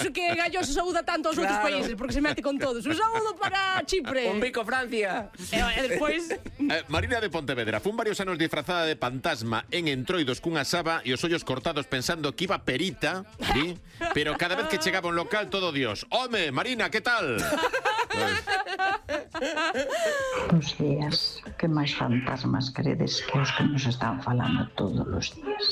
iso que Gallo se saúda tanto aos outros países, porque se mete con todos. Un saúdo para Chipre. Un bico Francia. E despois... Marina de Pontevedra fun varios anos disfrazada de fantasma en Entroidos cunha saba e os ollos cortados pensando que iba perita, ¿sí? Pero cada vez que chegaba a un local todo Dios. Home, Marina, que tal? Bos días. Que máis fantasmas credes que os que nos están falando todos os días?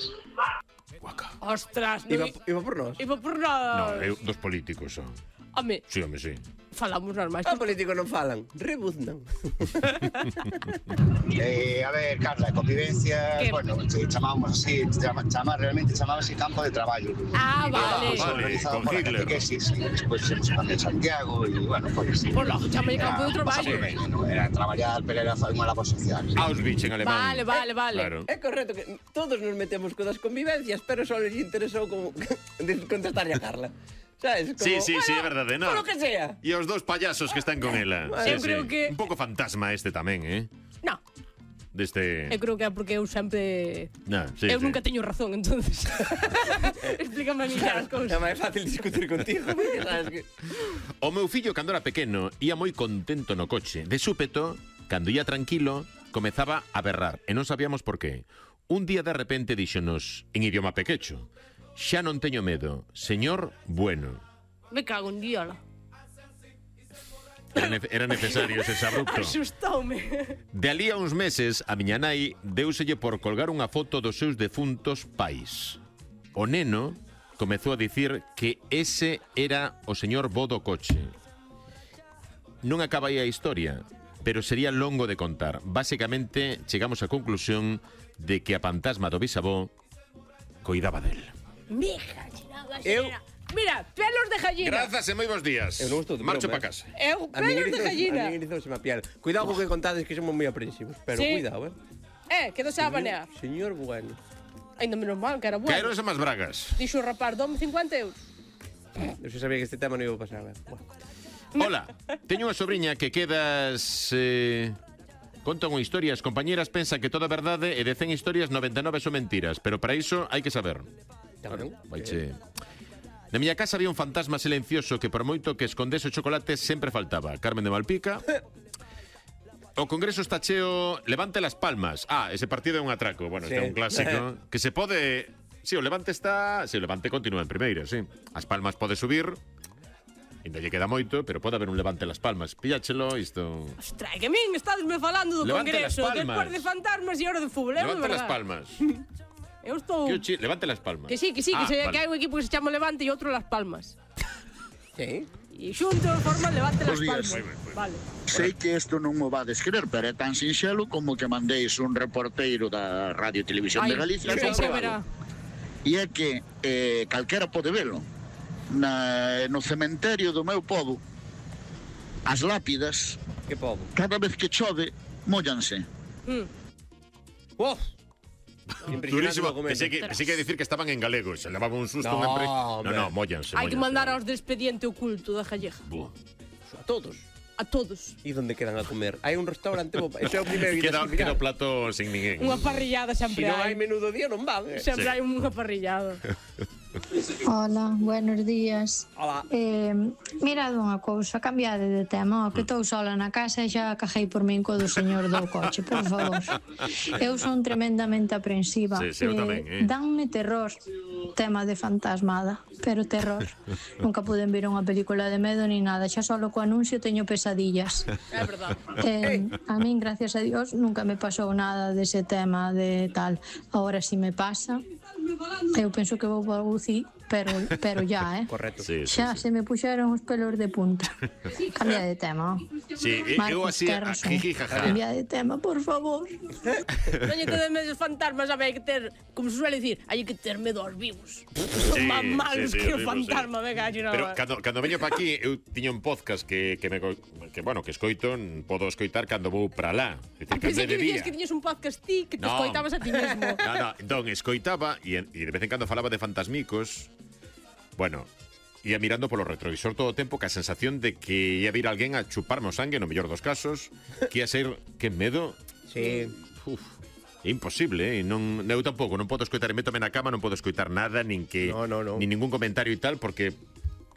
Ostras, Iba por nós. Iba por nós. No, dos políticos, son. Home, Sí, home, sí. falamos normal. Os políticos non falan, rebuznan. A ver, Carla, convivencia, ¿Qué? bueno, chamamos así, realmente chamábase campo de traballo. Ah, vale. Organizado con por la Hitler. catequesis, y despois se nos en Santiago, e, bueno, foi así. Por logo, chamalle campo de traballo. Era traballar, pero era unha labor social. Auschwitz en alemán. Vale. Claro. É correcto que todos nos metemos co das convivencias, pero só les interesou como contestarlle a Carla. ¿Sabes? Como, Sí, é verdade, no. Por lo que sea. E os dos payasos que están con ela. Eu creo que- Un pouco fantasma este tamén, No, Deste... eu creo que é porque eu sempre... No, sí, eu sí. nunca teño razón, entonces. Explícame a mí as É cousas. máis fácil discutir contigo, porque sabes que... O meu fillo, cando era pequeno, ia moi contento no coche. De súpeto, cando ia tranquilo, comezaba a berrar. E non sabíamos por qué. Un día de repente díxonos, en idioma pequecho, xa non teño medo, señor bueno. Me cago en diola. Era necesario ese abrupto. Asustoume. De alí a uns meses, a miña nai deuselle por colgar unha foto dos seus defuntos pais. O neno comezou a dicir que ese era o señor bo do coche. Non acaba aí a historia, pero sería longo de contar. Básicamente, chegamos á conclusión de que a fantasma do bisavó coidaba del. Mira, pelos de gallina. Grazas e moi bons días. Eu non estou de Marcho broma, pa casa. Eu, A min pelos de gallina. erizouse a piel. Cuidado co que contades que somos moi aprensivos, pero Sí. cuidado, Quedou xa a banear. Señor bueno. Ainda menos mal, que era bueno. Caeron as bragas. Dixo o rapaz, dome 50 euros. Eu xa sabía que este tema non iba a pasar. Hola, teño unha sobriña que quedas... Contan unha historia, as compañeras pensan que toda a verdade e de 100 historias 99 son mentiras, pero para iso hai que saber. Claro. Vaiche... Na miña casa había un fantasma silencioso que por moito que escondese o chocolate sempre faltaba. Carmen de Malpica. O Congreso está cheo, levante las palmas. Ese partido é un atraco. Bueno, este é un clásico. Que se pode... Sí, o Levante está... Sí, o Levante continúa en primeira, sí. As Palmas pode subir. Ainda lle queda moito, pero pode haber un Levante Las Palmas. Pilláchelo, isto... Ostras, que a min estadesme falando do Levante Congreso, las palmas. despois de fantasmas e hora de fútbol, é Levante Las verdade. Palmas. Eu estou... Levante Las Palmas. Que sí, que Vale. hai un equipo que se chama Levante e outro Las Palmas. Sí. E xuntos forman Levante Las Bos días. Palmas. Vale. Sei que isto non mo vades creer, pero é tan sinxelo como que mandéis un reporteiro da Radio e Televisión de Galicia a xa se comprobalo. verá. E é que calquera pode velo. No cementerio do meu pobo, as lápidas, Que pobo. cada vez que chove, móllanse. ¡Oh! Durísimo. Pensei que dicir que estaban en galego. Se levaban un susto. No, No, móllanse. Hai que mandar aos de expediente oculto da Gallega. A todos. A todos. E onde quedan a comer? Hai un restaurante, ese é o primeiro que Queda mirar. o plato sin ninguén. Unha parrillada Se sempre non hai hai. menú do día non van, Sempre hai unha parrillada. Hola, buenos días. Hola. Mirad unha cousa, cambiade de tema, que estou sola na casa e xa cajei por min co do señor do coche, por favor. Eu son tremendamente aprensiva. Sí, eu tamén, Danme terror, tema de fantasmada, pero terror. Nunca puden ver unha película de medo ni nada, xa solo co anuncio teño pesadillas. É verdade. A min, gracias a Dios, nunca me pasou nada dese tema de tal. Ahora si me pasa, eu penso que vou para UCI, pero ya, Correcto. Sí, sí, xa se me puxeron os pelos de punta. Cambia de tema. Sí, eu Marcos así, Terrason. jiji, jaja. Cambia de tema, por favor. Non lle tedes medo aos fantasmas, sabe, hai que ter, como se suele dicir, hai que ter medo aos vivos. Son máis malos que o horrible, fantasma, venga, no. Pero cando veño pa aquí, eu tiño un podcast que escoito, podo escoitar cando vou para lá. É dicir, cando Pensei é de que dicías día. que tiñes un podcast ti que te No. escoitabas a ti mesmo. No, entón escoitaba e de vez en cando falaba de fantasmicos. Bueno, ia mirando polo retrovisor todo o tempo ca sensación de que ia vir alguén a chuparme o sangue, no mellor dos casos, que ia ser, que medo. Sí. Uf, é imposible, non, eu tampouco, non podo escoitar, métome na cama, non podo escoitar nada, nin que No. nin ningún comentario e tal, porque